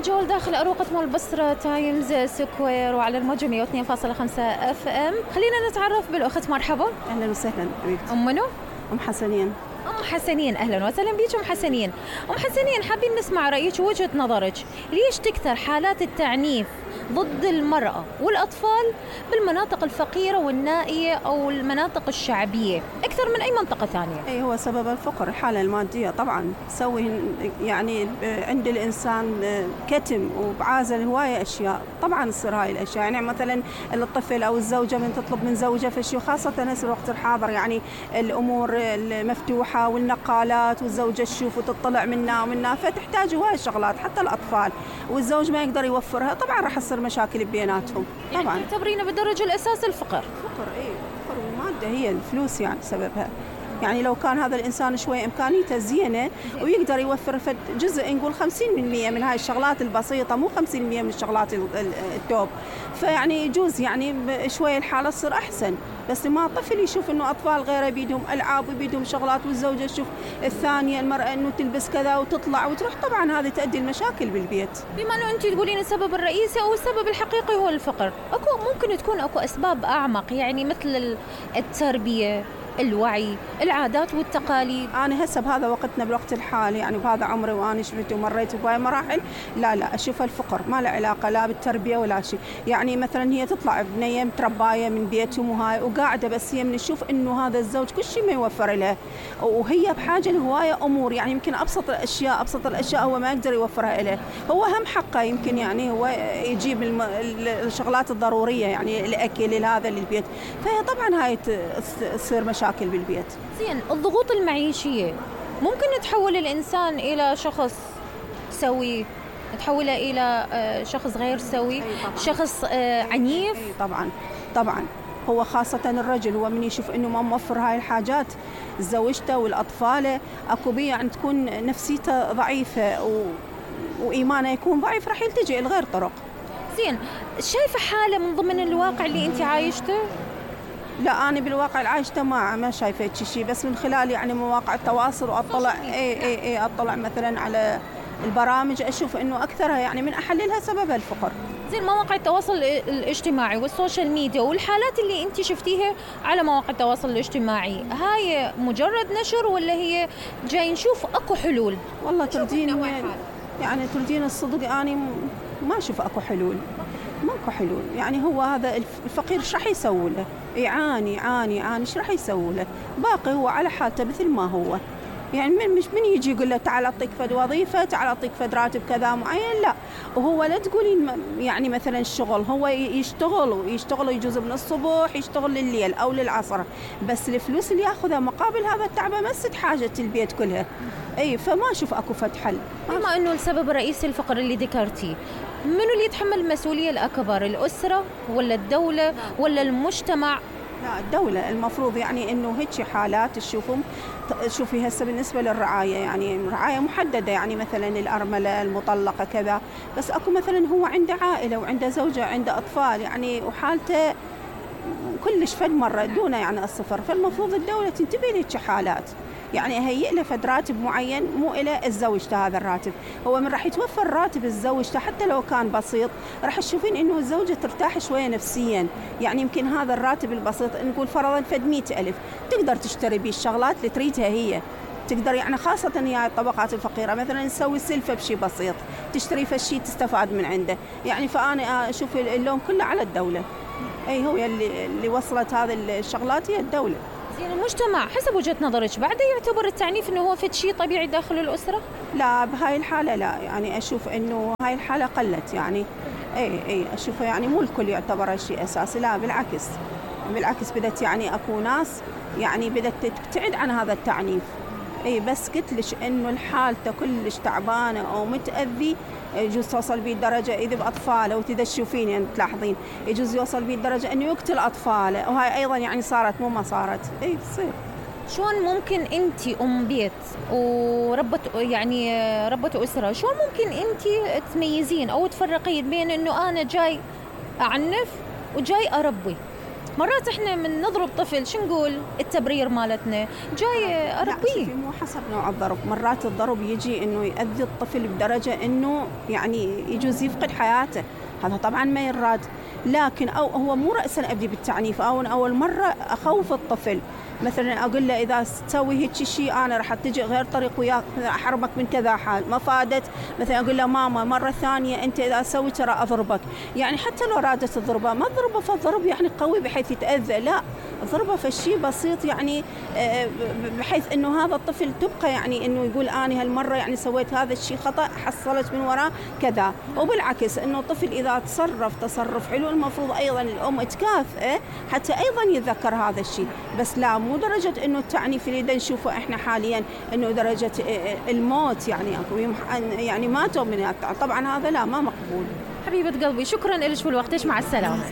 جول داخل أروقة مول بصرة تايمز سكوير وعلى الموجة 102.5 اف ام. خلينا نتعرف بالأخت. مرحبا. أهلا وسهلا حبيبتي. أم منو؟ أم حسنين. أم حسنين، أهلا وسهلا بيك أم حسنين. أم حسنين، حابين نسمع رأيك ووجهة نظرك، ليش تكثر حالات التعنيف ضد المرأة والأطفال بالمناطق الفقيرة والنائية أو المناطق الشعبية أكثر من أي منطقة ثانية؟ هو سبب الفقر، الحالة المادية طبعا تسوي يعني عند الإنسان كتم وبعازل هواية أشياء، طبعا تصير هاي الأشياء. يعني مثلا الطفل أو الزوجة من تطلب من زوجة فشي، خاصة هسه الوقت الحاضر يعني الأمور المفتوحة والنقالات، والزوجة تشوف وتطلع منا ومنا، فتحتاج هواية شغلات حتى الأطفال، والزوج ما يقدر يوفرها، طبعا راح تصير مشاكل بيناتهم. طبعا يعني تعتبرينه بالدرجة الأساس الفقر؟ فقر، فقر والمادة هي الفلوس يعني سببها. يعني لو كان هذا الإنسان شوي إمكانيته زينة ويقدر يوفر جزء، نقول 50% من هاي الشغلات البسيطة، مو 50% من الشغلات التوب، فيعني يجوز يعني شوي الحالة تصير أحسن. بس ما طفل يشوف إنه أطفال غيره بيدهم ألعاب وبيدهم شغلات، والزوجة تشوف الثانية المرأة إنه تلبس كذا وتطلع وتروح، طبعا هذه تؤدي المشاكل بالبيت. بما إنه أنت تقولين السبب الرئيسي أو السبب الحقيقي هو الفقر، ممكن تكون أكو أسباب أعمق، يعني مثل التربية، الوعي، العادات والتقاليد. أنا هسه بهذا وقتنا بالوقت الحالي، يعني بهذا عمري وأنا شفت ومريت بهاي مراحل، لا أشوف الفقر ما له علاقة لا بالتربية ولا شيء. يعني مثلا هي تطلع بنية مترباية من بيتهم وهاي وقاعدة، بس هي من تشوف إنه هذا الزوج كل شيء ما يوفر لها، وهي بحاجة لهواية أمور، يعني يمكن أبسط الأشياء هو ما يقدر يوفرها له، هو هم حقه يمكن يعني هو يجيب الشغلات الضرورية، يعني الأكل هذا للبيت، فهي طبعا هاي تصير مشاكل بالبيت. زين، الضغوط المعيشية ممكن تحول الإنسان إلى شخص سوي، تحوله إلى شخص غير سوي، شخص عنيف. طبعا هو خاصة الرجل، هو من يشوف إنه ما موفر هاي الحاجات زوجته والأطفال، أكو بيه يعني تكون نفسيته ضعيفة وإيمانه يكون ضعيف، راح يلتجئ لغير طرق. زين، شايفة حالة من ضمن الواقع اللي أنت عايشته؟ لا، أنا بالواقع العايشته ما شايفة شيء، بس من خلال يعني مواقع التواصل وأطلع أطلع مثلا على البرامج، أشوف إنه أكثرها يعني من أحللها سبب الفقر. زين، مواقع التواصل الاجتماعي والسوشيال ميديا والحالات اللي أنت شفتيها على مواقع التواصل الاجتماعي، هاي مجرد نشر ولا هي جاي نشوف أكو حلول؟ والله تردين الصدق، أنا ما أشوف أكو حلول، ماكو حلول. يعني هو هذا الفقير ايش راح يسوي له؟ يعاني ايش راح يسوي له؟ باقي هو على حالته مثل ما هو، يعني مش من يجي يقول له تعال اعطيك فد وظيفه، تعال اعطيك فد راتب كذا معين، لا. وهو لا تقولين يعني مثلا الشغل، هو يشتغل يجوز من الصبح يشتغل لليل او للعصر، بس الفلوس اللي ياخذها مقابل هذا التعب مسد حاجه البيت كلها. فما اشوف اكو فد حل. بما انه السبب الرئيسي الفقر اللي ذكرتيه، منو اللي يتحمل المسؤوليه الاكبر؟ الاسره ولا الدوله ولا المجتمع؟ لا، الدولة المفروض، يعني إنه هيك حالات شوفي هسه بالنسبة للرعاية، يعني رعاية محددة، يعني مثلا الأرملة المطلقة كذا، بس أكو مثلا هو عنده عائلة وعنده زوجة عنده أطفال، يعني وحالته كلش فد مرة دونه يعني الصفر، فالمفروض الدولة تنتبه لهيك حالات، يعني هيئ له فد راتب معين، مو إلى الزوجته هذا الراتب، هو من راح يتوفر راتب الزوجته حتى لو كان بسيط، راح تشوفين إنه الزوجة ترتاح شوية نفسيا، يعني يمكن هذا الراتب البسيط نقول فرضا فد 100,000 تقدر تشتري به الشغلات اللي تريدها هي، تقدر يعني خاصة هي الطبقات الفقيرة مثلا تسوي سلفة بشي بسيط، تشتري فشي تستفاد من عنده، يعني فأنا أشوف اللوم كله على الدولة، هو اللي وصلت هذه الشغلات هي الدولة. زين، المجتمع حسب وجهة نظرك بعد يعتبر التعنيف انه هو فد شيء طبيعي داخل الأسرة؟ لا، بهاي الحالة لا، يعني أشوف إنه هاي الحالة قلت، يعني أشوفها يعني مو الكل يعتبر شيء أساسي، لا بالعكس بدت يعني أكو ناس يعني بدت تبتعد عن هذا التعنيف، بس قلت لك إنه الحالة كلش تعبانة أو متأذي، يجوز توصل بيه الدرجة إذا بأطفاله، وتشوفين يعني تلاحظين يجوز يوصل بيه الدرجة إنه يقتل أطفاله، وهاي أيضا يعني صارت مو ما صارت، تصير. شلون ممكن أنت أم بيت وربة أسرة، شلون ممكن أنت تميزين أو تفرقين بين إنه أنا جاي أعنف وجاي أربي؟ مرات احنا من نضرب طفل شو نقول التبرير مالتنا جاي اربيه. مو حسب نوع الضرب، مرات الضرب يجي انه يؤذي الطفل بدرجه انه يعني يجوز يفقد حياته، هذا طبعا ما يراد. لكن او هو مو رأسا ابدي بالتعنيف، او اول مره اخوف الطفل، مثلا اقول له اذا تسوي هيك شيء انا راح اتجه غير طريق وياك، احرمك من كذا حال، ما فادت مثلا اقول له ماما مره ثانيه انت اذا سويت ترى اضربك، يعني حتى لو رادت تضربه ما تضربه فالضرب يعني قوي بحيث يتاذى، لا ضربه فشي بسيط يعني بحيث انه هذا الطفل تبقى يعني انه يقول انا هالمره يعني سويت هذا الشيء خطا حصلت من وراه كذا. وبالعكس انه الطفل اذا تصرف حلو المفروض ايضا الام تكافئه حتى ايضا يتذكر هذا الشيء، بس لا مو درجه انه التعنيف اللي نشوفه احنا حاليا انه درجه الموت، يعني ماتوا من طبعا هذا لا ما مقبول. حبيبه قلبي شكرا لك ولوقتك، مع السلامه.